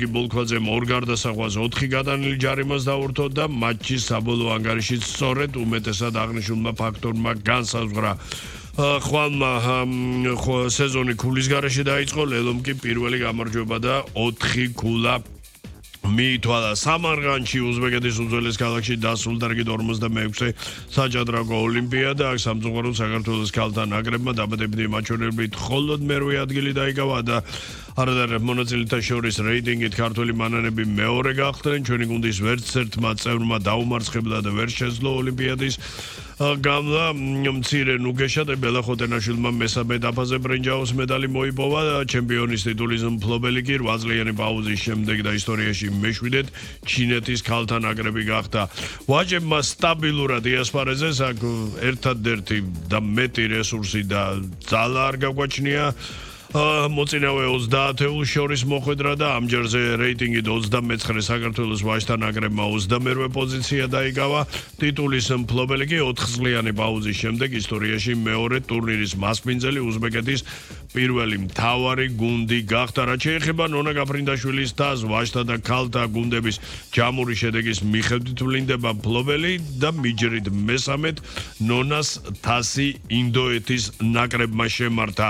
გიბოლქვაძემ ორ გარდასახვას 4 გადანილი ჯარიმას დაურთო და მატჩის საბოლოო ანგარიშიც სწორედ უმეტესად აღნიშნულმა ფაქტორმა განსაზღვრა. ხვალმა სეზონი ქულის გარეშე დაიწყო, ლელომ კი პირველი გამარჯვება და 4 ქულა მიითვალა. სამარგანში უზბეკეთის უძველეს ქალაქში დასრულდა რიგით 46 საჭადრაკო ოლიმპიადა. აქ სამწუხაროდ საქართველოს ქალთა ნაკრებმა დაბადებითი მაჩვენებლით მხოლოდ მერვე ადგილი დაიკავა და არადარ მონაწილეთა შორის რეიტინგით ქართველი მანანები მეორე გახდნენ. ჩვენი გუნდის ვერც ერთმა წევრმა დაუმარცხებლა და ვერ შეძლო ოლიმპიადის გამლა. მცირე ნუგეშა და ბელახოტენაშვილმა მესამე დაფაზე ბრინჯაოს медали მოიპოვა. ჩემპიონის ტიტულის მფლობელი კი 8 წლიანი პაუზის შემდეგ და ისტორიაში მეშვიდედ ჩინეთის ქალთა ნაკრები გახდა. ვაჯებმა სტაბილურად იასპარეზეს, აქ ერთადერთი და მეტი რესურსი და ძალა არ გაგვაჩნია. მოწინავე 30 ეულს შორის მოხვედრა და ამჯერზე რეიტინგით 29 საქართველოს ვაჟთა ნაკრებმა 22 პოზიცია დაიკავა. ტიტულის მფლობელი კი 4 წლიანი პაუზის შემდეგ ისტორიაში მეორე ტურნირის მასპინძელი უზბეკეთის პირველი მთავარი გუნდი გახდა. რაც შეეხება ნონა გაფრინდაშვილის თასს, ვაჟთა და ქალთა გუნდების ჯამური შედეგის მიხედვით ვლინდება მფლობელი და მიჯრით მესამედ ნონას თასი ინდოეთის ნაკრებმა შემართა.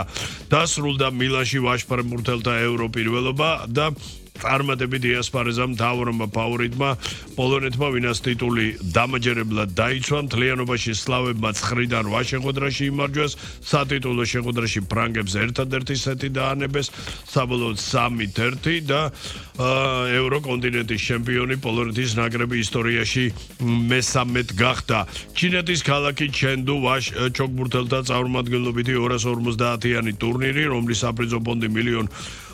დასრულდა მილანში ვაჟფეხბურთელთა ეურო პირველობა და წარმატებით იასპარეზა მთავრმა ფავორიტმა პოლონეთმა, ვინაც ტიტული დამაჯერებლად დაიცვა. მთლიანობაში სლავებმა 9-დან 8 შეხვედრაში იმარჯვეს. სატიტულო შეხვედრაში ფრანგებს ერთადერთი სეტი დაანებეს, საბოლოოდ 3-1 და ევროკონტინენტის ჩემპიონი პოლონეთის ნაკრები ისტორიაში მესამედ გახდა. ჩინეთის ქალაქი ჩენდუ ვაჟ ჩოგბურთელთა წარმომადგენლობითი 250-იანი ტურნირი, რომლის საპრიზო ფონდი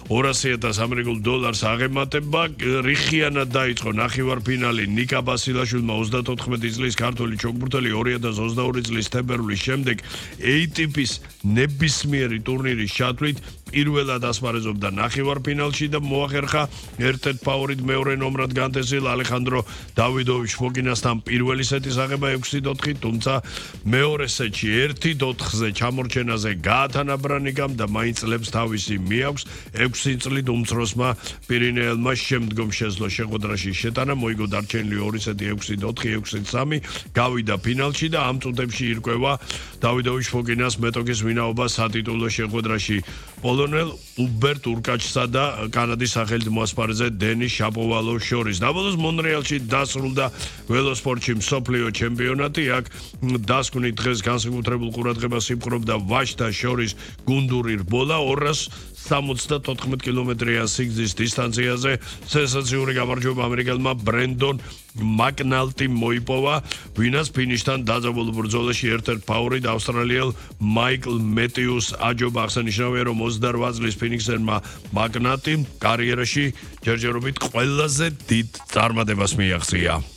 $1,200,000 ამერიკულ დოლარს აღემატება. რიხიანად დაიწყო ნახევარფინალი ნიკა ბასილაშვილმა 34 წლის ქართველი ჩოგბურთელი 2022 წლის თებერვლის შემდეგ ATP-ის ნებისმიერი ტურნირის ჩათვლით პირველად ასპარეზობდა ნახევარფინალში და მოახერხა ერთ-ერთ ფავორიტ მეორე ნომრად განთესილ ალეხანდრო დავიდოვიჩ ფოკინასთან პირველი სეტის აღება 6-4, თუმცა მეორე სეტში 1-4-ზე ჩამორჩენაზე გაათანაბრა ნიკამ და მაინც წლებს თავისი მიაქვს. 6 წლით უმცროსმა პირინეელმა შემდგომ შეძლო შეხვედრაში შეტანა, მოიგო დარჩენილი 2 სეტი 6-4, 6-3, გავიდა ფინალში და ამ წუთებში ირკვევა დავიდოვიჩ ფოკინას მეტოქის ვინაობა სატიტულო შეხვედრაში პოლონელ უბერტ ურკაჩსა და კანადის სახელით მოასპარეზე დენის შაპოვალოს შორის. დაბოლოს მონრეალში დასრულდა ველოსპორტში მსოფლიო ჩემპიონატი. აქ დასკვნით დღეს განსაკუთრებულ ყურადღებას იპყრობდა ვაჟთა შორის გუნდური რბოლა 274 კილომეტრიან სიგრძის დისტანციაზე. სენსაციური გამარჯვება ამერიკელმა ბრენდონ მაკნალტი მოიპოვა, ვინაც ფინიშთან დაძაბულ ბრძოლაში ერთ-ერთ ფავორიტ ავსტრალიელ მაიკლ მეტიუს აჯობა. აღსანიშნავია, რომ 28 წლის ფინიქსერმა მაკნალტიმ კარიერაში ჯერჯერობით ყველაზე დიდ წარმატებას მიაღწია.